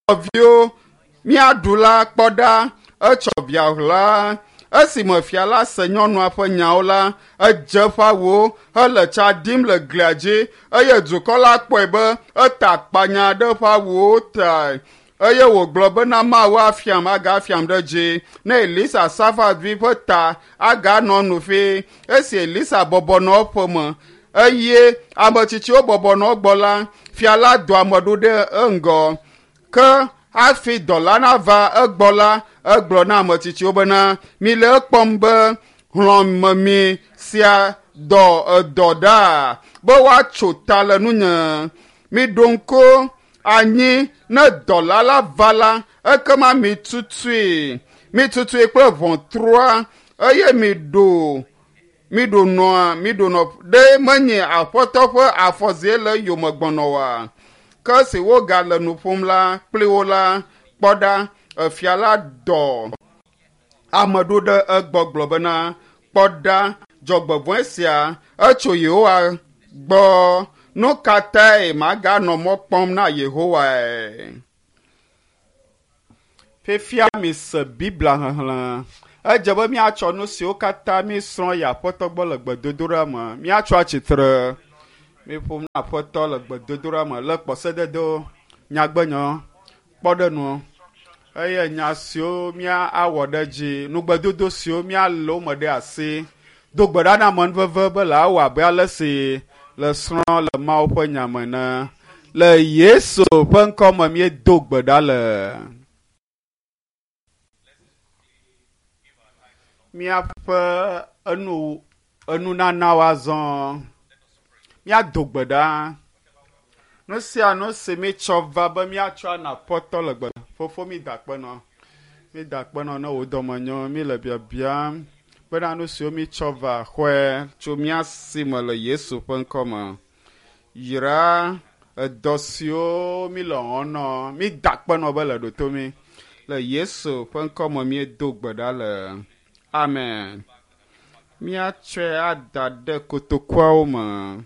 Nɔviwo, míaɖu la kpɔ ɖa, etsɔ via ɣla. Esime fia la se nyɔnua ƒe nyawo la, edze eƒe awuwo hele tsa ɖim le glia dzi eye dukɔ la kpɔe be eta akpanya ɖe eƒe awuwo tae eye wògblɔ bena Mawu afiam agafiam ɖe dzi ne Elisa Safat vi ƒe ta aganɔ nu fi. Esi Elisa bɔbɔ nɔ eƒe me eye ame tsitsiwo bɔbɔ nɔ egbɔ la, fia la dɔ ame ɖo ɖe eŋgɔ. Ke hafi dɔla nava egbɔ la, egblɔ na ame tsitsiwo bena, mile ekpɔm be hlɔ̃memi sia dɔ edɔ ɖa be woatso ta le nunye. Miɖo ŋku anyi ne dɔla la va la, ekema mitutui, mitutui kple ʋɔtrua eye miɖo miɖo nɔa miɖo nɔ ɖe menye aƒetɔ ƒe afɔzie le eyome gbɔnɔ oa? Ke esi wogale nu ƒom la kpli wo la, kpɔ ɖa, efia la dɔ ame ɖo ɖe egbɔ gblɔ bena, kpɔ ɖa, dzɔgbevɔ̃e sia etso Yehowa gbɔ. Nu ka tae maganɔ mɔ kpɔm na Yehowae? Fifia mise Biblia xexlẽ. Edze be míatsɔ nu siwo katã míesrɔ̃ yi Aƒetɔ gbɔ le gbedodoɖa me. Míatsɔ atsitre. Míeƒom na Aƒetɔ le gbedodoɖa me le kpɔsededewo, nyagbenyɔ, kpɔɖenuwo eye nya siwo míawɔ ɖe edzi, nugbedodo siwo míalé wo me ɖe asi. Do gbe ɖa na amenuveve be le awɔ abe ale si le srɔ̃ le Mawu ƒe nya me ene. Le Yesu ƒe ŋkɔ me míedo gbe ɖa le. Míaƒe enu enunanawo azɔ. Míado gbe ɖa. Nu sia nu si míetsɔ va be míatsɔ ana Aƒetɔ le gbe. Fofo mída akpe nɔ. Mída akpe nɔ ne wò dɔme nyo. Míle biabiam bena nu siwo míetsɔ va xɔe tso mía si me le Yesu ƒe ŋkɔ me. Yra edɔ siwo míle wɔm nɔ. Mída akpe nɔ be le ɖo to mí. Le Yesu ƒe ŋkɔ me míedo gbe ɖa le. Amen. Míatsɔe ada ɖe kotokuawo me.